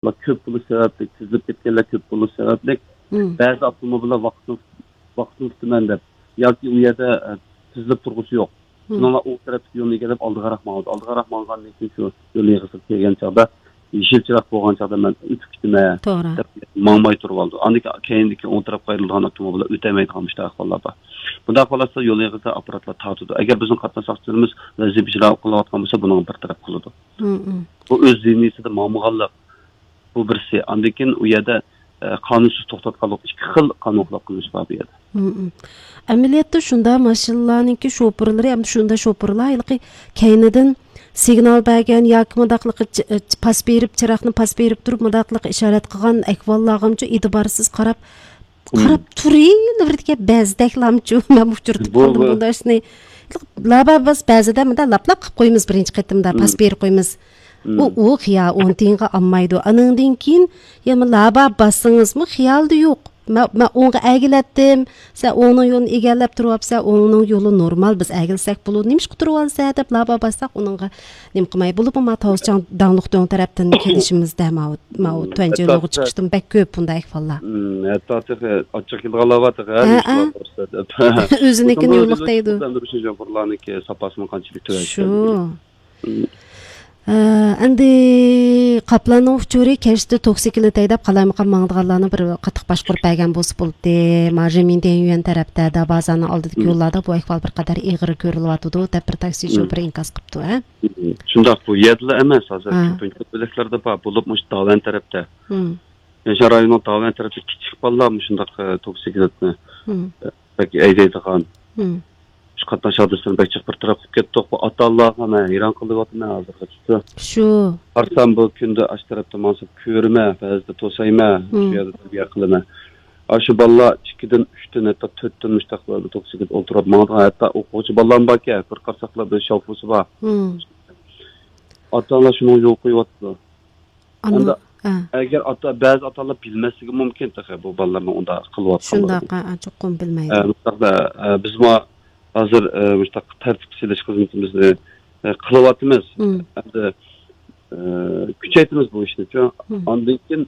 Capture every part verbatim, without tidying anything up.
كۆپ بولۇش سەۋەبلىك، تىزىلىپ كەتكەنلەر كۆپ بولۇش سەۋەبلىك، مم، بەزى ئاپتوموبىللار ۋاقتىنى، ۋاقتىنى كۈتىمەن دەپ ياكى ئۇ يەردە، ئە، تىزىلىپ تۇرغۇسى يوق. مم. شۇنىڭ بىلەن ئوڭ تەرەپتىكى يولنى ئىگىلەپ ئالدىغاراق ماڭىدۇ. ئالدىغاراق ماڭغاندىن كېيىن شۇ يول يېغىسىغا كەلگەن چاغدا يېشىل چىراغ بولغان چاغدا مەن ئۆتۈپ كېتىمەن، توغرا، دەپ ماڭماي تۇرۇۋالىدۇ. ئاندىن كېيىن كەينىدىكى ئوڭ تەرەپكە ئايرىلىدىغان ئاپتوموبىللار ئۆتەلمەيدىغان مۇشۇنداق ئەھۋاللار بار. بۇنداق ئەھۋاللاردا يول يېغىسىدا ئاپپاراتلار تارتىدۇ. ئەگەر بىزنىڭ قاتناش ساقچىلىرىمىز ۋەزىپە ئىجرا قىلىۋاتقان بولسا، بۇنىڭغا بىر تەرەپ قىلىدۇ. مم، مم. بۇ ئۆز زېمىنىسىدا ماڭمىغانلىق، بۇ بىرسى. ئاندىن كېيىن ئۇ يەردە، ئە، قانۇنسىز توختاتقانلىق، ئىككى خىل قانۇن خىلاپ قىلمىش بار بۇ يەردە. مم، مم. ئەمەلىيەتتە شۇنداق ماشىنىلارنىڭكى شوپۇرلىرى، ئەمدى شۇنداق شوپۇرلار ھېلىقى كەينىدىن سىگنال بەرگەن ياكى مۇنداقلىقى چ-، چ-، پاس بېرىپ، چىراغنى پاس بېرىپ تۇرۇپ، مۇنداقلىقى ئىشارەت قىلغان ئەھۋاللارغىمۇ ئېتىبارسىز قاراپ، مم، قاراپ تۇرۇۋېرىدىكەن بەزىدەكلامچۇ. مەن ئۇچرىتىپ بۇ، قالدىم بۇ بۇنداق ئىشنى. لابا بىز بەزىدە مۇنداق لاپلاپ قىلىپ قويىمىز بىرىنچى قېتىمدا، پاس، مم، بېرىپ قويىمىز. ئۇ، مم، ئۇ خىيا ئون تىيىنغا ئالمايدۇ. ئانىڭدىن كېيىن يەنە لابا باسسىڭىزمۇ خىيالدا يوق. مەن، مەن ئوڭغا ئەگىلەتتىم، سەن ئوڭنىڭ يولىنى ئىگىلەپ تۇرۇۋاپسەن، ئوڭنىڭ يولى نورمال، بىز ئەگىلسەك بولىدۇ، نېمىشقا تۇرۇۋالىسەن دەپ لابا باسساق ئۇنىڭغا نېمە قىلماي. بولۇپمۇ ما تاۋۇزچاڭ داڭلىق دۆڭ تەرەپتىن كېلىشىمىزدە ماۋۇ، ماۋۇ مم، تۆۋەن ھەتتا جىلوغا چىقىشتىن بەك كۆپ بۇنداق ئەھۋاللار. مم، ھەتتا تېخى ئاچچىق كېلىدىغانلار بار تېخى، ھە، ھە، نېمىشقا بار دەپ. ئۆزىنىڭكىنى يوللۇق دەيدۇ. ئەمدى بىر شۇ جۇڭخۇرلارنىڭكى ساپاسىمۇ قانچىلىك تۆۋەن شۇ. ئىكەن. ئە، ئەمدى قاپلاننىڭ ئۇچۇرى كەچتە توكسىكلىت ھەيدەپ قالايمىقان ماڭىدىغانلارنى بىر قاتتىق باشقۇرۇپ بەرگەن بولسا بولدى. ما رېمىنديەن يۈەن تەرەپتە، دابازاننىڭ ئالدىدىكى يوللاردا بۇ ئەھۋال بىر قەدەر ئېغىر كۆرۈلۈۋاتىدۇ، دەپ بىر تاكسى شوپۇرى ئىنكاس قىپتۇ، ھە؟ شۇنداق، بۇ يەردىلا ئەمەس، ھازىر ھە. كۆپىنچە بۆلەكلەردە بار، بولۇپمۇ مۇشۇ داۋەن تەرەپتە. مم. يەنشان رايونىنىڭ داۋەن تەرەپتە كىچىك بالىلار مۇشۇنداق، ئە، توكسىكلىتنى، مم، بەك ھەيدەيدىغان. مم. شۇ قاتناش ھادىسىسىنى بەك جىق بىر تەرەپ قىلىپ كەتتۇق. بۇ ئاتا-ئانىلارغا مەن ھەيران قېلىۋاتىمەن ھازىرغىچە. شۇ. قارىسام، بۇ كۈندە ئاشۇ تەرەپتە ماڭسام كۆرىمەن، بەزىدە توسايمەن، شۇ، مم، يەردە تەربىيە قىلىمەن. ئاشۇ بالىلار ئىككىدىن، ئۈچتىن، ھەتتا تۆتتىن مۇشۇنداق بىر توكسىكلىت ئولتۇرۇپ ماڭىدىغان، ھەتتا ئوقۇغۇچى بالىلارمۇ باركەن، بىر قارىساقلا بىر شاۋفۇسى بار. مم. ئاتا-ئانىلار شۇنىڭغا يول قويۇۋاتىدۇ. ئەمدى ئەگەر ئاتا، بەزى ئاتا-ئانىلار بىلمەسلىكى مۇمكىن تېخى بۇ بالىلارنىڭ ئۇنداق قىلىۋاتقانلىقىنى. شۇنداق، ھە، ھە، چوقۇم بىلمەيدۇ. ئە، مۇشۇنداقتا، ئە، بىزمۇ ھازىر، ئە، مۇشۇنداق تەرتىپكە سېلىش خىزمىتىمىزنى، ئە، قىلىۋاتىمىز. مم. ئەمدى، ئە، كۈچەيتىمىز بۇ ئىشنىچۇ. مم. ئاندىن كېيىن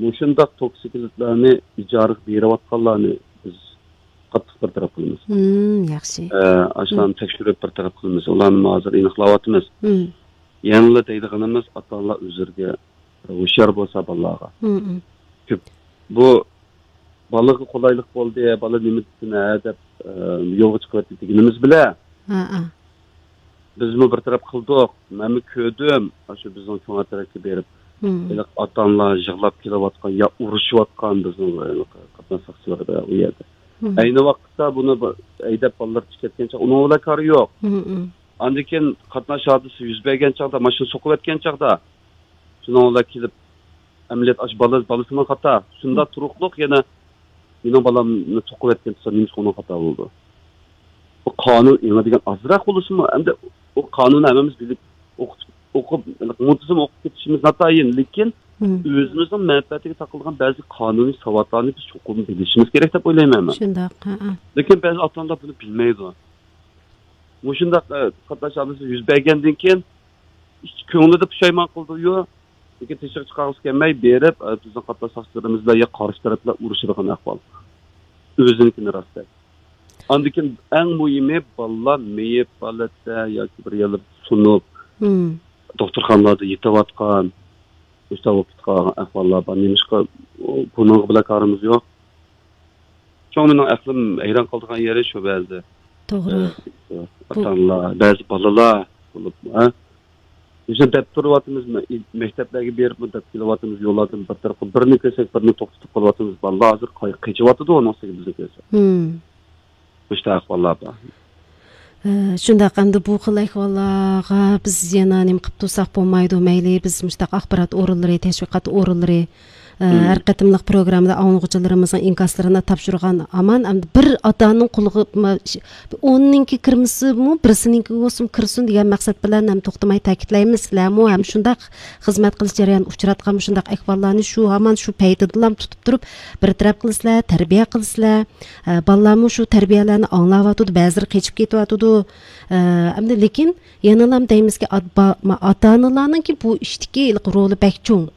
مۇشۇنداق توكسىكلىتلارنى ئىجارىگە بېرىۋاتقانلارنى بىز قاتتىق بىر تەرەپ قىلىمىز. مم، ياخشى. ئە، ئاشۇلارنى، مم، تەكشۈرۈپ بىر تەرەپ قىلىمىز. ئۇلارنى ھازىر ئېنىقلاۋاتىمىز. مم. يەنىلا دەيدىغىنىمىز، ئاتا-ئانىلار ئۆزلىرىگە ھوشيار بولسا بالىلارغا. مم، مم. كۆپ. بۇ بالىغا قولايلىق بولدى، بالا نېمە دېسۇن، ھە، دەپ، ئە، يولغا چىقىۋەتتى دېگىنىمىز بىلەن، ھە، ھە، بىزمۇ بىر تەرەپ قىلدۇق. مەنمۇ كۆردۈم، ئاشۇ بىزنىڭ كۆڭەل تەرەپكە بېرىپ، مم، ھېلىقى ئاتا-ئانىلار يىغلاپ كېلىۋاتقان يا ئۇرۇشۇۋاتقان بىزنىڭ، ھېلىقى قاتناش ساقچىلىرىدا ئۇ يەردە. مم. ئەينى ۋاقىتتا بۇنى بىر ھەيدەپ بالىلار چىقىپ كەتكەن چاغ ئۇنىڭ بىلەن كارى يوق. مم، مم. ئاندىن كېيىن قاتناش ھادىسىسى يۈز بەرگەن چاغدا، ماشىنا سوقۇۋەتكەن چاغدا، شۇنىڭ بىلەن كېلىپ، ئەمەلىيەت ئاشۇ بالا، بالىسىنىڭ خاتا. شۇنداق تۇرۇقلۇق يەنە مېنىڭ بالامنى سوقۇۋەتكەن تۇرسا، نېمىشقا ئۇنىڭ خاتا بولىدۇ؟ بۇ قانۇن ئېڭى دېگەن ئازراق بولسىمۇ، ئەمدى ئۇ قانۇننى ھەممىمىز بىلىپ، ئوقۇپ، ئوقۇپ، مۇنتىزىم ئوقۇپ كېتىشىمىز ناتايىن، لېكىن، مم، ئۆزىمىزنىڭ مەنپەئەتىگە تاقىلىدىغان بەزى قانۇنىي ساۋاتلارنى بىز چوقۇم بىلىشىمىز كېرەك دەپ ئويلايمەن مەن. شۇنداق، ھە، ھە. لېكىن بەزى ئاتا-ئانىلار بۇنى بىلمەيدۇ. مۇشۇنداق، ئە، قاتناش ھادىسىسى يۈز بەرگەندىن كېيىن، ئىچ كۆڭلىدە پۇشايمان قىلىدۇ، لېكىن تېشىغا چىقارغۇسى كەلمەي بېرىپ، ئە، بىزنىڭ قاتناش ساقچىلىرىمىز بىلەن يا قارشى تەرەپ بىلەن ئۇرۇشىدىغان ئەھۋال. ئۆزىنىڭكىنى راست دەپ. ئاندىن كېيىن ئەڭ مۇھىمى بالىلار مېيىپ ھالەتتە ياكى بىر يەرلەردە سۇنۇپ، مم، دوختۇرخانىلاردا يېتىۋاتقان، مۇشۇنداق بولۇپ كېتىپ قالغان ئەھۋاللار بار. نېمىشقا، بۇنىڭغا بىلەن كارىمىز يوق. شۇڭا مېنىڭ ئەقلىم ھەيران قالىدىغان يېرى شۇ بەزىدە. توغرا. ئە، بۇ ئاتا-ئانىلار، بەزى بالىلار بولۇپ، ھە؟ بىز دەپ تۇرۇۋاتىمىز، مە-، مەكتەپلەرگە بېرىپمۇ دەپ كېلىۋاتىمىز، يوللاردىن بىر تەرەپ قىلىپ، بىرىنى كۆرسەك، بىرىنى توختىتىپ قالىۋاتىمىز. بالىلار ھازىر قاي-، قېچىۋاتىدۇ، ئۇنىڭ ئۈستىگە بىزنى كۆرسە. مم. مۇشۇنداق ئەھۋاللار بار. ئە، شۇنداق، ئەمدى بۇ خىل ئەھۋاللارغا بىز يەنە نېمە قىلىپ تۇرساق بولمايدۇ. مەيلى بىز مۇشۇنداق ئاخبارات ئورۇنلىرى، تەشۋىقات ئورۇنلىرى، ئە، مم، ھەر قېتىملىق پروگراممىدا ئاڭلىغۇچىلىرىمىزنىڭ ئىنكاسلىرىنى تاپشۇرغان ھامان، ئەمدى بىر ئاتا-ئانىنىڭ قولىغا، ما، ش-، ئوننىڭكى كىرمىسىمۇ، بىرسىنىڭكى بولسىمۇ كىرسۇن دېگەن مەقسەت بىلەن ھەم توختىماي تەكىتلەيمىز. سىلەرمۇ ھەم شۇنداق خىزمەت قىلىش جەريانىدا ئۇچراتقان مۇشۇنداق ئەھۋاللارنى شۇ ھامان شۇ پەيتىدىلا تۇتۇپ تۇرۇپ، بىر تەرەپ قىلىسىلەر، تەربىيە قىلىسىلەر. ئە، بالىلارمۇ شۇ تەربىيەلەرنى ئاڭلاۋاتىدۇ، بەزىلىرى قېچىپ كېتىۋاتىدۇ. ئە، ئەمدى لېكىن يەنىلا دەيمىزكى، ئات-، با-، ما-، ئاتا-ئانىلارنىڭكى بۇ ئىشتىكى ھېلىقى رولى بەك چوڭ.